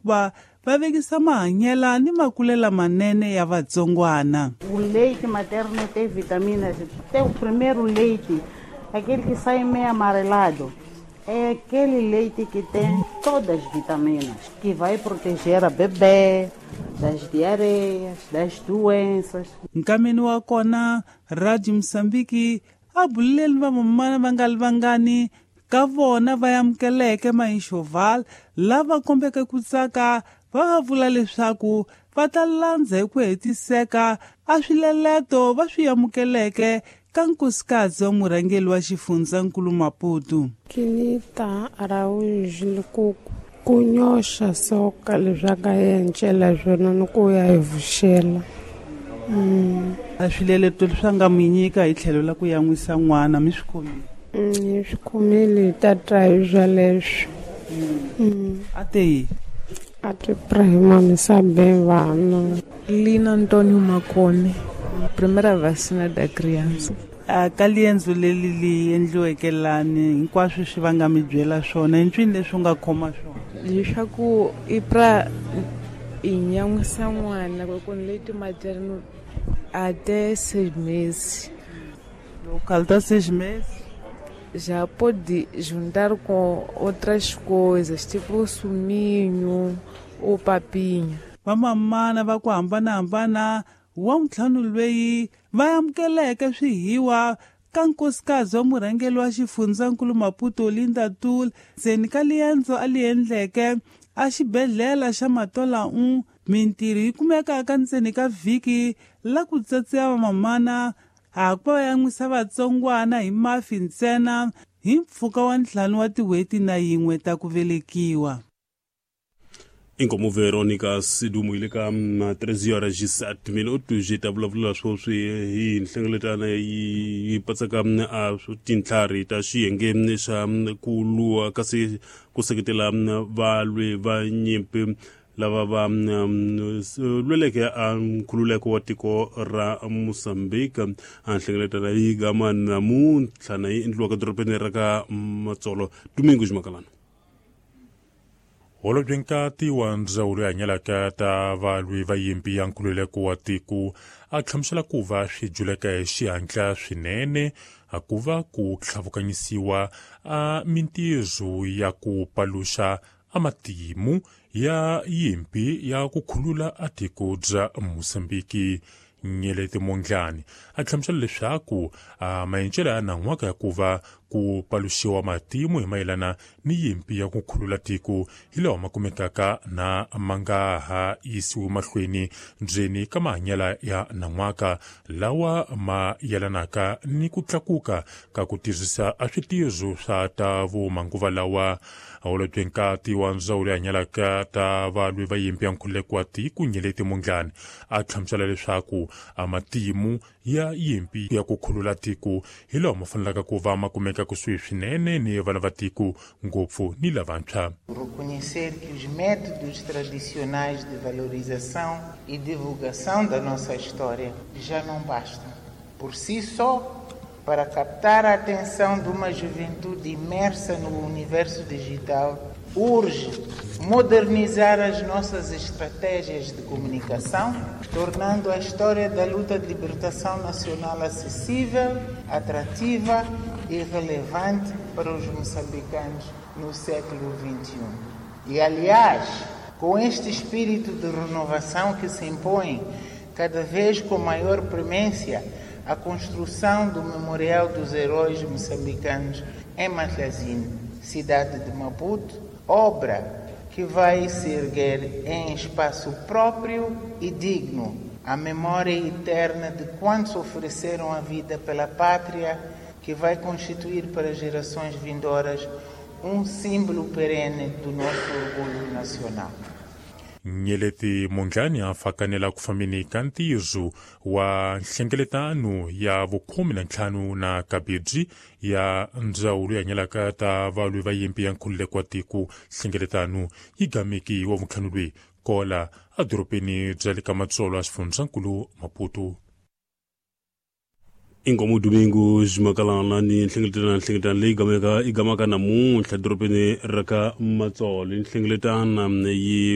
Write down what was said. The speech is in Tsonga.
ku va va vekisa mahanyela ni makulela manene ya vatsongwana. O leite materno tem vitaminas. Tem o primeiro leite, aquele que sai meio amarelado. É aquele leite que tem todas as vitaminas, que vai proteger a bebê das diarreias, das doenças. Nkameni wa kona Radio Mozambique a buleleni vamamana va nga li vangani ka vona va amukeleke Maixoval lava kombeke ku tsaka va va vula leswaku va ta landza hi ku hetiseka a swileleto va swi amukeleke ka nkosikazi wa murhangeri wa xifundzankulu Maputo. Kinita Araújo Lukuku ku nyoxa soka leswaku a encela swona ni ku ya hi vuxela. A swileleto leswi a nga mi nyika hi tlhelo la ku yan'wisa n'wana mi swi khomile? Hi swi khomile, hi ta twa hi swoleswo. A te yi? A te prima mi sabe vana. Lina Antônio Makone, primeira vacina da criança. A ka liendzo leri li endliweke lani hinkwaswo swi va nga mi byela swona i ncwini leswi u nga khoma swona? Leswaku i pra i nyan'wisa n'wana ku ni leite materno até 6 meses. Local 6 meses? Já pode juntar com outras coisas, tipo suminho ou papinha. Vamamana va ku hambanahambana wa ntlhanu lweyi va amukeleke swihiwa ka nkosikazi wa murhangeri wa xifundzankulu Maputo Linda Tul ndzeni ka liendzo a li endleke a xibedhlele xa Matola 1. Mintirho yi kumekaka ndzeni ka vhiki la ku tsatsiya vamamana a ku va yan'wisa vatsongwana hi mafi ntsena hi mpfhuka wa 5 wa tin'hweti na yin'we ta ku velekiwa. Inkomo Veronica Sidumo ile ka 3 horas e 7 minutos hi ta vulavula sweswi hi nhlengeletano yi patsaka a tintlhari ta xiyenge xa ku lwa kasi ku seketela valwi va nyimpi lava va lweleke a nkhululeko wa tiko ra Mozambique. A nhlengeletano yi gama namuntlha na yi endliwaka dorobeni ra ka Matsolo. Domingo Ximakalana. Holobye nkati wa ndzawulo ya hanyelaka ta valwi va yimpi ya nkhululeko wa tiko a hlamusela ku va swi juleka hi xihatla swinene a ku va ku tlhavukanyisiwa a mintirho ya ku paluxa a matimu ya yimpi ya ku khulula a tiko bya Mozambiki. Nyeleti Mondlane a hlamusela leswaku a maendlelo ya nan'waka ya ku va ku paluxiwa matimu hi mayelana ni yimpi ya ku khulula tiko hi lawa ma kumekaka na ma nga ha yisiwi mahlweni ndzeni ka mahanyelo ya nan'waka lawa ma yelanaka ni ku tlakuka ka ku tirhisa a switirho swa ta vumanguva lawa. Holobye nkati wa ndzawulo ya hanyelaka ta valwi va yimpi ya nkhululeko wa tiko Nyeleti Mondlane a hlamusela leswaku a matimu ya yimpi ya ku khulula tiko hi lawa ma fanelaka ku va ma kumeka kusuhi swinene ni vana va tiko ngopfu ni lavantshwa. Reconhecer que os métodos tradicionais de valorização e divulgação da nossa história já não bastam por si só para captar a atenção de uma juventude imersa no universo digital. Urge modernizar as nossas estratégias de comunicação, tornando a história da luta de libertação nacional acessível, atrativa e relevante para os moçambicanos no século XXI. E, aliás, com este espírito de renovação que se impõe cada vez com maior premência, a construção do Memorial dos Heróis Moçambicanos em Matlazine, cidade de Maputo, obra que vai se erguer em espaço próprio e digno, a memória eterna de quantos ofereceram a vida pela pátria, que vai constituir para gerações vindouras um símbolo perene do nosso orgulho nacional. Nyeleti Mondlane a fakanela ku fambeni ka ntirho wa nhlengeletano ya vu-15 na kabirhi ya ndzawulo ya hanyelaka ta valwi va yimpi ya nkhululeko wa tiko. Nhlengeletano yi gameki wa vuntlhanu lweyi kola edorobeni bya le ka Matsolo a xifundzankulu Maputo. Inkomo Domingo Ximakalana ni nhlengeletano leyi gamaka yi gamaka namuntlha dorobeni ra ka Matsolo. Nhlengeletano yi